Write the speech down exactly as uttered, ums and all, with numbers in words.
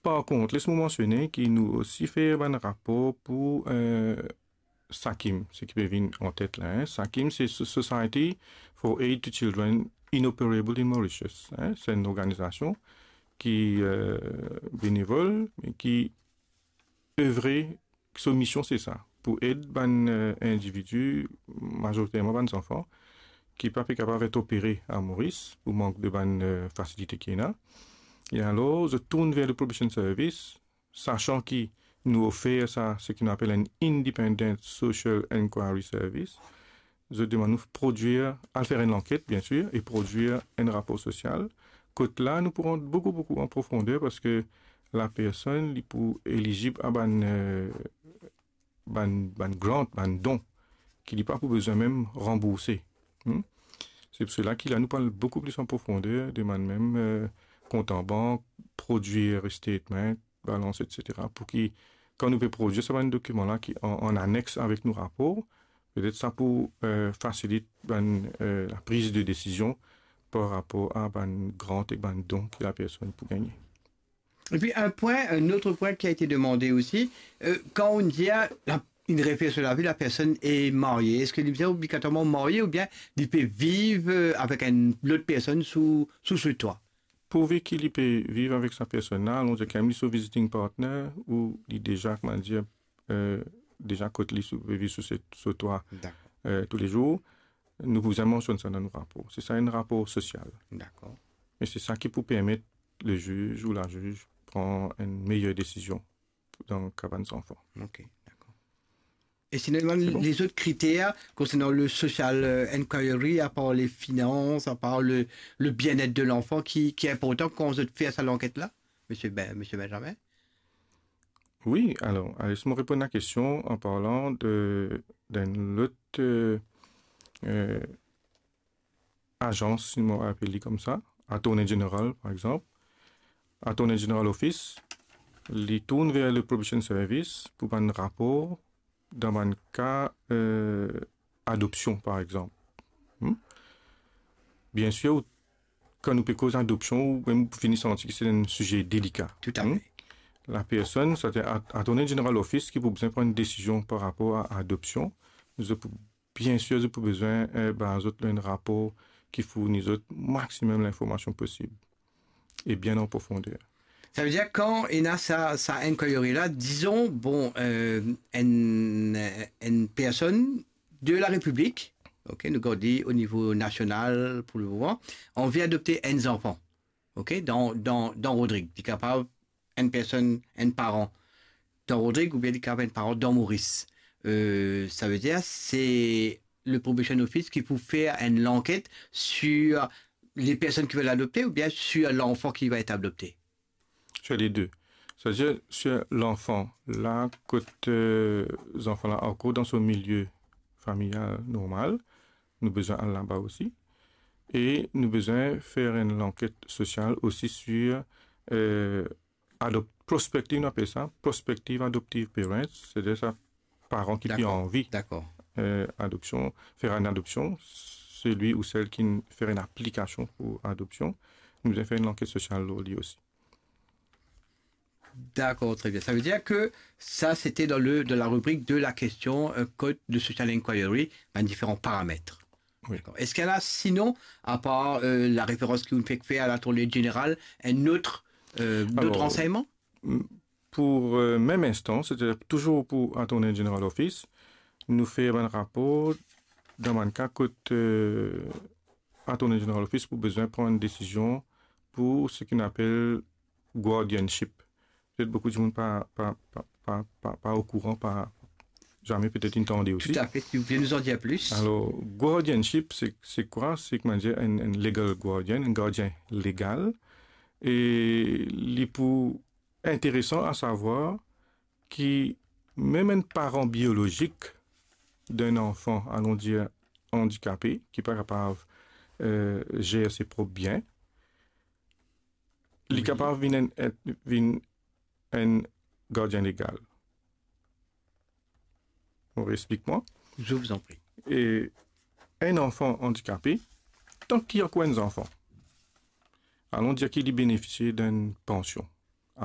Par kont, les mo mansione ki nou osi fer bann rapor pou, eh, SAKIM, seki pe vinn an tet la, en. SAKIM, se So-, Society for Aid to Children Inoperable in Mauritius, en. Se enn organizasion ki, eh, benevol, me ki evre, so mision se sa, pou ed bann, eh, individi, mazoriterman bann zanfan, ki pa pe kapav et opere a Moris pou mank de bann, eh, fasilite ki ena. E alor, zot tourn ver le Probation Service, sasan ki nou ofer sa, seki nou apel enn Independent Social Inquiry Service. Zot demann nou prodwir, al fer enn lanket, biensir, e prodwir enn rapor sosial. Kot la, nou pou rant boukou, boukou an profonder, parski lapersonn, li pou elizib a bann, eh, bann, bann grant, bann don, ki li pa pou bizin mem ranbourse. Hmm? Se pou sela ki la, nou pou al boukou plis an profonder, demann mem, eh, kont an bank, prodwir statement, balans, et cetera, pou ki, kan nou pe prodwir sa bann dokiman la ki an, an anex avek nou rapor, petet sa pou, eh, fasilit bann, eh, lapriz de desizion par rapor a bann grant ek bann don ki lapersonn pou gagne. Et puis un point, un autre point qui a été demandé aussi, euh, quand on dit, ah, la, il réfléchit sur la vie, la personne est mariée. Est-ce que li bizin obligatoirement marié ou bien li pe viv, euh, avec une autre personne sous, sous ce toit? Pourvi ki li pe viv avek sa personn la, alon dir, kan li so visiting partner ou li deza, kouma dir, eh, deza kot li sou, pe viv sou se, so twa, eh, toulezour, nou pou bizin mansionn sa dan nou rapor. Se sa enn rapor sosial. Dakor. E se sa ki pou permet leziz ou laziz pran enn meyer desizion dan ka bann zanfan. Ok, dakor. E sinon, lezot kriter konsernan le social, euh, inquiry, apar le finans, apar le, le bien-être de l'enfant, ki, ki inportan kan zot fer sa lanket la, misie Ben-, misie Benjamin? Wi, alor, les mo reponn lakestion an parlan de, d'enn lot, euh, euh, azans, si mo apel li koumsa, Attorney General, par exanp. Attorney General Office, li tourn ver le Probation Service pou bann rapor dan bann ka, euh, adopsion, par exanp. Hmm? Biensir, ou, kan nou pe koz adopsion, ou mem pou fini santi ki se enn size delika. Tout à fait. Lapersonn, sa At-, Attorney General Office ki pou bizin pran enn desizion par rapor a adopsion. Zot pou, biensir, zot pou bizin, eh, ba zot enn rapor ki fourni zot maximum linformasion posib e bien an profonder. Savedir, kan ena sa, sa inquiry la, dizon, bon, euh, enn, enn personn de la Repiblik, ok, nou gard li o nivo nasional pou le moman, anvi adopte enn zanfan, ok, dan, dan, dan Rodrig. Li kapav enn personn, enn paran dan Rodrig oubien li kapav enn paran dan Moris. Euh, savedir, se le Probation Office ki pou fer enn lanket sur les personnes qui veulent adopter ou bien sur l'enfant qui va être adopté? Sur les deux. C'est-à-dire, sur l'enfant, la, kot, euh, zanfan la ankor dan so milie familial normal, nou bizin al laba osi. E nou bizin fer enn lanket sosial osi sur, euh, adop-, prospective, nou apel sa, prospective adoptive parents, c'est-à-dire sa paran ki pe anvi, dakor, euh, adopsion, fer enn adopsion, selwi ou sel ki fer enn aplikasion pou adopsion, nou bizin fer enn lanket sosial lor li osi. Dakor, tre bien. Savedir ke sa, sete dan le, dan la ribrik de la kestion, euh, kot de social inquiry, bann diferan paramet. Wi. Dakor. Eski ena, sinon, apar, euh, la referans ki ou fek fer a Attorney General, enn lot, euh, lot ransegnman? Alor, m-, pou, euh, mem instan, setadir touzour pou Attorney General Office, nou fer bann rapor dan bann ka kot, euh, Attorney General Office pou bizin pran enn desizion pou seki nou apel guardianship. Petet boukou dimoun pa, pa, pa, pa, pa, pa okouran, pa zame petet inn tande osi. Tout à fait, si vous pouvez nous en dire plus. Alor, guardianship, se, se kwa? Se, kouma dir, enn, enn legal guardian, enn gardien legal. E li pou interesan a savwar ki mem enn paran biolozik d'enn anfan, alon dir, andikape, ki pa kapav, euh, zer se prop bien, li, wi, kapav vinn enn, enn, vinn enn gardien legal. Ou explik mwa? Je vous en prie. E enn anfan andikape, tanki ankor enn zanfan, alon dir ki li benefisie d'enn pansion.